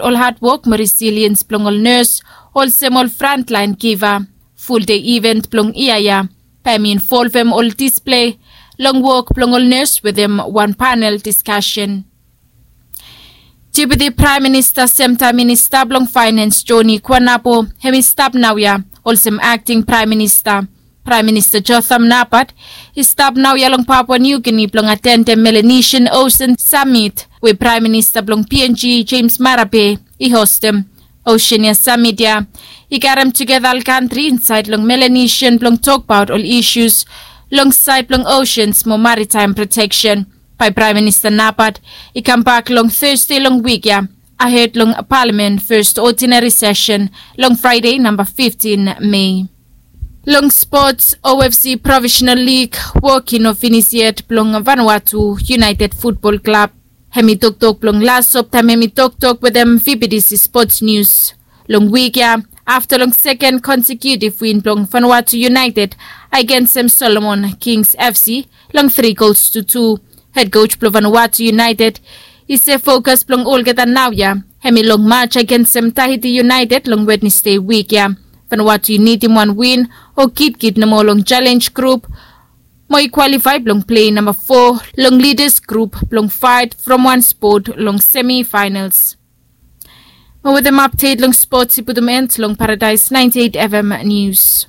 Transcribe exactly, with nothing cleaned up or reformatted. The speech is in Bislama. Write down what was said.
ol hadwok mo resiliens blong ol nes olsem ol frantlaen giva. Fuldei iven blong yia ya bae mi involvem ol displei long wok blong ol nes wetem wan panel diskasen. Deputi Praem Minista semtaem Minista blong Faenens Joni Kuanabo hem i stap naoia olsem akting Praem Minista. Praem Minista Jotham Napat i stap naoia long Papua Niu Gini blong atendem Melanesian Osen Samit we Praem Minista blong P N G Jemes Marape i hostem. Osen ya samit ya i karem tugeta ol kantri insaed long Melanesian blong tokbaot ol isus long saed blong osens mo maritaem proteksen. Bae Praem Minista Napat i kambak long Tesde long wik ya ahed long Palamen fes odinari sesen long Fraede namba fiftin Mei. Long spots, O F C Profesenal Lig wok i no finis yet blong Vanuatu United Futbol Klab. Hem i toktok blong las sop taem hem i toktok wetem V B T C Spots Nius. Long wik ya afta long seken konsekutiv win blong Vanuatu United agensem Solomon Kings F C long tri gols tu tu. Hed kos blong Vanuatu United i se fokas blong olgeta naoia hem i long maj agensem Tahiti United long Wednesde wik ya. Vanuatu i nidim wan win o kitkit nomo long jalenj grup mo i kwalifae blong plei namba fo long lidas grup blong faet from wan spot long semifaenals. Mo wetem apdet long spots i putum en long Paradaes naenti eit F M nius.